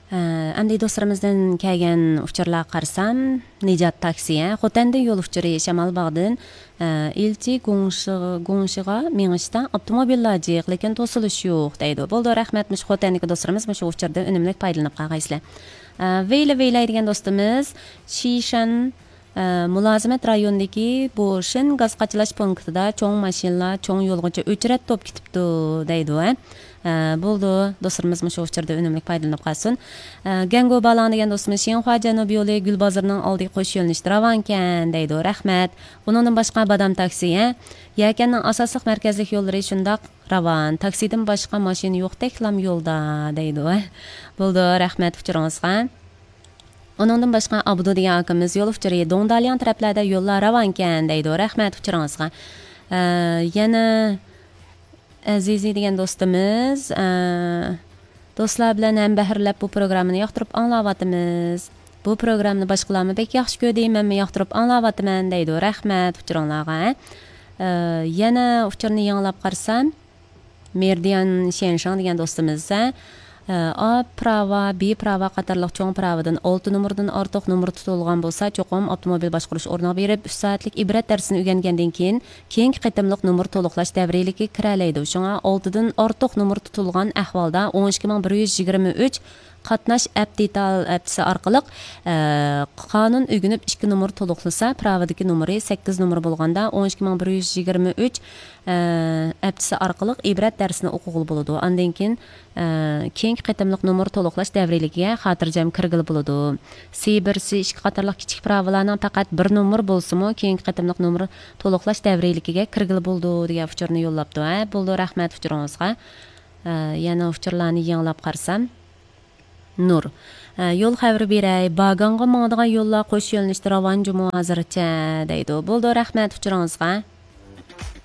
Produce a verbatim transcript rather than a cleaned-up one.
ئەمدى دوستلىرىمىزدىن كەلگەن ئۇچۇرلارغا قارىسام، نىجات تاكسى، ھە، خوتەندىن يول ئۇچۇرى، شامالباغدىن، ئە، ئىلچى گۇڭشىغا، گۇڭشىغا مېڭىشتا ئاپتوموبىللار جىق، لېكىن توسۇلۇش يوق دەيدۇ. بولدى، رەھمەت، مۇشۇ خوتەندىكى دوستلىرىمىز مۇشۇ ئۇچۇردىن ئۈنۈملۈك پايدىلىنىپ قالغايسىلەر. ئە، ۋېيلە ۋېيلەي دېگەن دوستىمىز، شىشەن، ئە، مۇلازىمەت رايونىدىكى بوشىن گاز قاچىلاش پونكىتىدا چوڭ ماشىنىلار چوڭ يولغىچە ئۆچرەت توپ كېتىپتۇ دەيدۇ، ھە. ئە، بولدى، دوستلىرىمىز مۇشۇ ئۇچۇردا ئۈنۈملۈك پايدىلىنىپ قالسۇن. ئە، گەڭگو بالاڭ دېگەن دوستىمىز، شىنخۇا جەنۇبىي يولى گۈل بازىرىنىڭ ئالدىغا قوش يۆنىلىشتە راۋانكەن دەيدۇ، رەھمەت. ئۇنىڭدىن باشقا بادام تاكسى، ھە، يەكەننىڭ ئاساسلىق مەركەزلىك يوللىرى شۇنداق راۋان، تاكسىدىن باشقا ماشىنا يوقتەكلام يولدا دەيدۇ، ھە. بولدى، رەھمەت ئۇچۇرىڭىزغا. ئۇنىڭدىن باشقا ئابدۇ دېگەن ئاكىمىز يول ئۇچۇرى دۇڭدالياڭ تەرەپلەردە يوللار راۋانكەن دەيدۇ. رەھمەت ئۇچۇرىڭىزغا. ئە، يەنە ئەزىزى دېگەن دوستىمىز، ئە، دوستلار بىلەن ھەمبەھىرلەپ بۇ پروگراممىنى ياقتۇرۇپ ئاڭلاۋاتىمىز. بۇ پروگراممىنى باشقىلارمۇ بەك ياخشى كۆردى، مەنمۇ ياقتۇرۇپ ئاڭلاۋاتىمەن دەيدۇ. رەھمەت ئۇچۇرۇڭلارغا. ئە، يەنە ئۇچۇرنى يېڭىلاپ قارىسام، مېرىدىيان شيەنشاڭ دېگەن دوستىمىز، ئە، ئا پىراۋا، بى پىراۋا قاتارلىق چوڭ پىراۋىدىن ئالتە نومۇردىن ئارتۇق نومۇر تۇتۇلغان بولسا، چوقۇم ئاپتوموبىل باشقۇرۇش ئورنىغا بېرىپ، ئۈچ سائەتلىك ئىبرەت دەرسىنى ئۆگەنگەندىن كېيىن، كېيىنكى قېتىملىق نومۇر تولۇقلاش دەۋرىيلىكىگە كىرەلەيدۇ. شۇڭا ئالتىدىن ئارتۇق نومۇر تۇتۇلغان ئەھۋالدا ئون ئىككى مىڭ بىر يۈز يىگىرمە ئۈچ قاتناش ئەپ دېتال ھەپتىسى ئارقىلىق، ئە، قانۇن ئۆگىنىپ ئىككى نومۇر تولۇقلىسا، پىراۋىدىكى نومۇرى سەككىز نومۇر بولغاندا، ئون ئىككى مىڭ بىر يۈز يىگىرمە ئۈچ، ئە، ھەپتىسى ئارقىلىق ئىبرەت دەرسىنى ئوقۇغىلى بولىدۇ. ئاندىن كېيىن، ئە، كېيىنكى قېتىملىق نومۇر تولۇقلاش دەۋرىيلىكىگە خاتىرجەم كىرگىلى بولىدۇ. سى بىر، سى ئىككى قاتارلىق كىچىك پىراۋىلارنىڭ پەقەت بىر نومۇر بولسىمۇ، كېيىنكى قېتىملىق نومۇر تولۇقلاش دەۋرىيلىكىگە كىرگىلى بولىدۇ، دېگەن ئۇچۇرنى يوللاپتۇ. ھە، بولدى، رەھمەت ئۇچۇرىڭىزغا. ئە، يەنە ئۇچۇرلارنى يېڭىلاپ قارىسام. نۇر. ئە، يول خەۋىرى بېرەي، باگاڭغا ماڭىدىغان يوللار قوش يۆنىلىشتە راۋان جۇمۇ ھازىرچە دەيدۇ. بولدى، رەھمەت ئۇچۇرىڭىزغا.